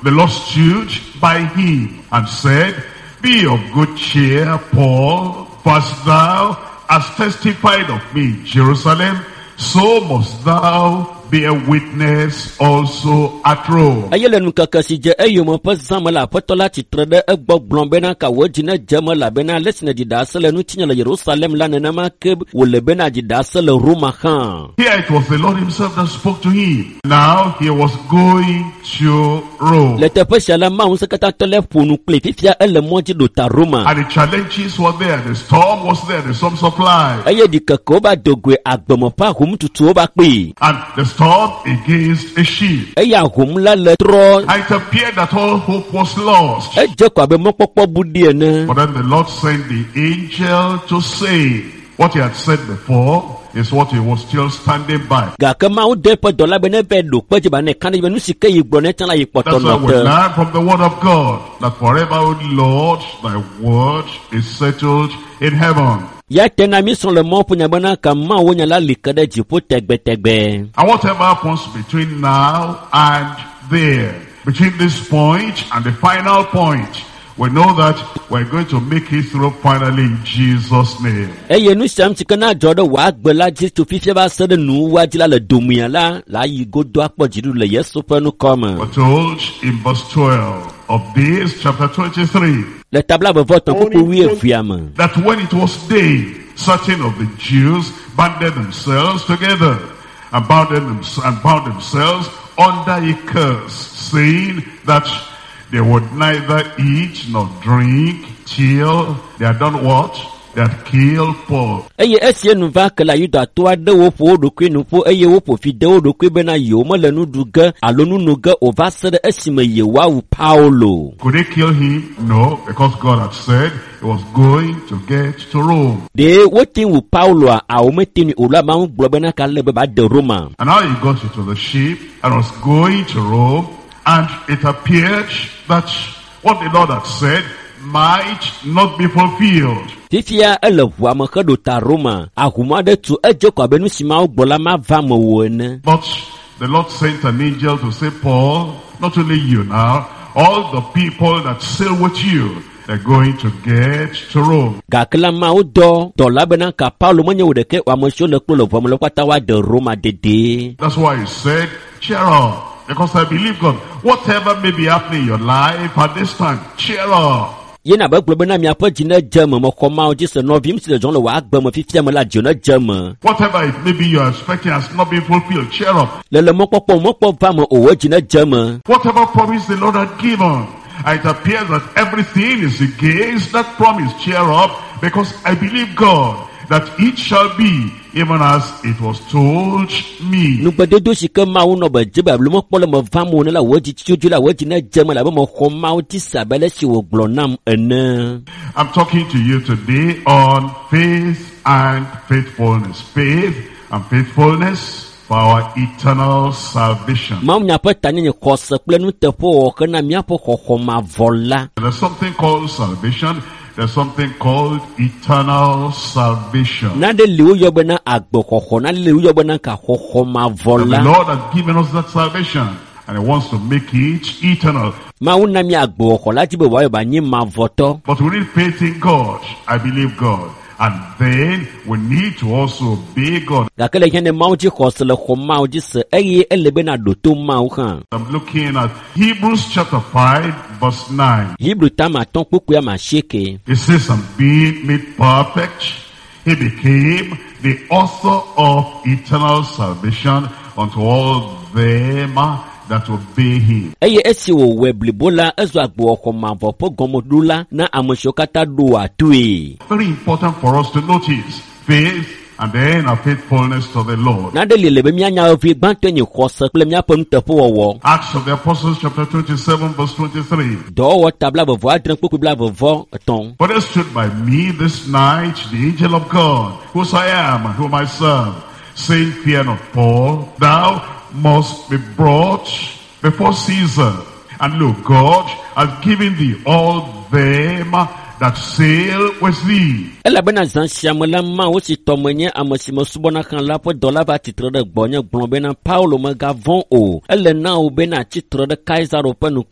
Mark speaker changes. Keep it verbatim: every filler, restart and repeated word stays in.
Speaker 1: the Lord stood by him and said, Be of good cheer, Paul, for as thou hast testified of me in Jerusalem, so must thou bear witness also at Rome.
Speaker 2: Eye le ŋkeke si dze eyome ƒe zã me la, Aƒetɔ la tsitre ɖe egbɔ gblɔ bena ka wò dzi nedze eme elabena ale si nèɖi ɖase le ŋutinye le Yerusalem la nenema ke wòle bena ɖi ɖase le Roma hã.
Speaker 1: Here it was the Lord himself that spoke to him. Now he was going to Rome.
Speaker 2: Le teƒe sia la, Mawu ŋusẽkatãtɔ la ƒo nu kpli fifia ele mɔ dzi ɖo ta Roma.
Speaker 1: And the challenges were there, the storm was there, the storm supply.
Speaker 2: Eye ɖikekewo va do goe agbeme ƒe ahomtutuwo va kpee.
Speaker 1: And the storm against a ship.
Speaker 2: Eye ahom la le trɔ.
Speaker 1: And it appeared that all hope was lost.
Speaker 2: Edze ko abe mɔkpɔkpɔ bu ɖi ene.
Speaker 1: But then the Lord sent the angel to say what he had said before is what he was still standing by.
Speaker 2: Gake Mawu dɔ eƒe dɔla be neva ɖo kpe dzi ba ne ka ɖe dzi be nu si ke yi gblɔ ne tsã la yi kpɔtɔ
Speaker 1: That's why
Speaker 2: nɔ
Speaker 1: we
Speaker 2: te.
Speaker 1: learn from the word of God that forever, O Lord, thy word is settled in heaven.
Speaker 2: Ya te na mi srɔ̃ le Mawu ƒe nya bena ka Mawu nya la li ke ɖe dziƒo tegbetegbe.
Speaker 1: And whatever happens between now and there, between this point and the final point, we know that we're going to make it through finally in Jesus' name.
Speaker 2: Eye nu sia nu si ke na dzɔ ɖe wò agbe la dzi tso fifia va se ɖe nuwuwua dzi la le domea la, la yi godo akpɔ dziɖuɖu le Yesu ƒe ŋkɔ me.
Speaker 1: We're told in verse twelve of this chapter twenty-three
Speaker 2: Le ta blaeve vɔ etɔ̃ kpukpui wuievea me.
Speaker 1: that when it was day, certain of the Jews banded themselves together and bound, them, and bound themselves under a curse, saying that they would neither eat nor drink till they had done what? They had killed Paul.
Speaker 2: Eye esi nu va ke la Yudatɔ aɖewo ƒo wo ɖokui nu ƒu eye woƒo fi de wo ɖokui bena yewo mele nu ɖu ge alo nu no ge o va se ɖe esime yewoawu Paulo.
Speaker 1: Could they kill him? No, because God had said he was going to get to Rome.
Speaker 2: Ɖe wote wu Pauloa awo mete nui o la Mawu gblɔ bena ka le be ba de Roma.
Speaker 1: And now he got into the ship and was going to Rome, and it appeared that what the Lord had said might not be fulfilled.
Speaker 2: Fifia ele ʋua me heɖo ta Roma. Ahom aɖe tu edze ko abe nu si Mawu gblɔ la mava me o ene.
Speaker 1: But the Lord sent an angel to say, Paul, not only you now, all the people that sail with you, they're going to get to Rome.
Speaker 2: Gake la Mawu dɔ dɔla bena ka Paulo menye wo ɖeke o ame siwo le kplo le ʋua me la wo katã woade Roma dedie.
Speaker 1: That's why he said, cheer up, because I believe God. Whatever may be happening in your life at this time, cheer up.
Speaker 2: Yena be gblɔ bena miaƒe dzi nedze eme mexɔ Mawu dzi se nɔvim si le dzɔm le wò agbe me fifia me la dzi nedze eme.
Speaker 1: Whatever it may be you are expecting has not been fulfilled, cheer up.
Speaker 2: Le le mɔkpɔkpɔ mɔkpɔ va me o wò dzi nedze eme.
Speaker 1: Whatever promise the Lord had given, and it appears that everything is against that promise, cheer up, because I believe God that it shall be even as it was told me.
Speaker 2: Nugbedodo si ke Mawu nɔ be dze be alo mekpɔ le me vam o ne la wò dzi tsotso la wò dzi nedze eme labe mexɔ Mawu dzi se abe ale si wògblɔ nam ene.
Speaker 1: I'm talking to you today on faith and faithfulness. Faith and faithfulness for our eternal salvation.
Speaker 2: Mawu nya ƒe tanyenye xɔse kple nuteƒewɔwɔ hena míaƒe xɔxɔ mavɔ la.
Speaker 1: There's something called salvation. There's something called eternal salvation.
Speaker 2: Nane li woyɔ bena agbexɔxɔ, nane li woyɔ bena kaxɔxɔ mavɔ
Speaker 1: And the
Speaker 2: la.
Speaker 1: Lord has given us that salvation, and he wants to make it eternal.
Speaker 2: Mawu na mí agbexɔxɔ la dzi be wòayɔ be anyi mavɔtɔ.
Speaker 1: But we need faith in God. I believe God. And then we need to also obey God.
Speaker 2: Gake le hiã ne Mawu dzi xɔse le xɔ Mawu dzi se eye ele bena ɖo to Mawu hã.
Speaker 1: I'm looking at Hebrews chapter five, verse nine.
Speaker 2: Hebrew tama atɔ̃ kpukpui ame asieke.
Speaker 1: It says, and being made perfect, he became the author of eternal salvation unto all them that obey him.
Speaker 2: Eye esi wòwɔe blibo la, ezu agbexɔxɔ mavɔ ƒe gɔmeɖola na ame siwo katã ɖoa toe.
Speaker 1: Very important for us to notice faith and then our faithfulness to the Lord.
Speaker 2: Nane li le be míanya vevi gbãtɔe nye xɔse kple míaƒe nuteƒewɔwɔ.
Speaker 1: Acts of the Apostles chapter twenty-seven verse twenty-three.
Speaker 2: Dɔwɔwɔ ta blaeve vɔ adre kpukpui blaeve vɔ etɔ̃.
Speaker 1: For there stood by me this night the angel of God, whose I am and whom I serve, saying, Fear not, Paul, thou must be brought before Caesar. And look, God has given thee all them that sail with thee.
Speaker 2: Elabena zã sia me la Mawu si tɔ menye ame si mesubɔna hã la ƒe dɔla va tsitre ɖe gbɔnye gblɔ bena Paulo megavɔ̃ o. Ele na wò bena tsitre ɖe Kaisaro ƒe ŋkume.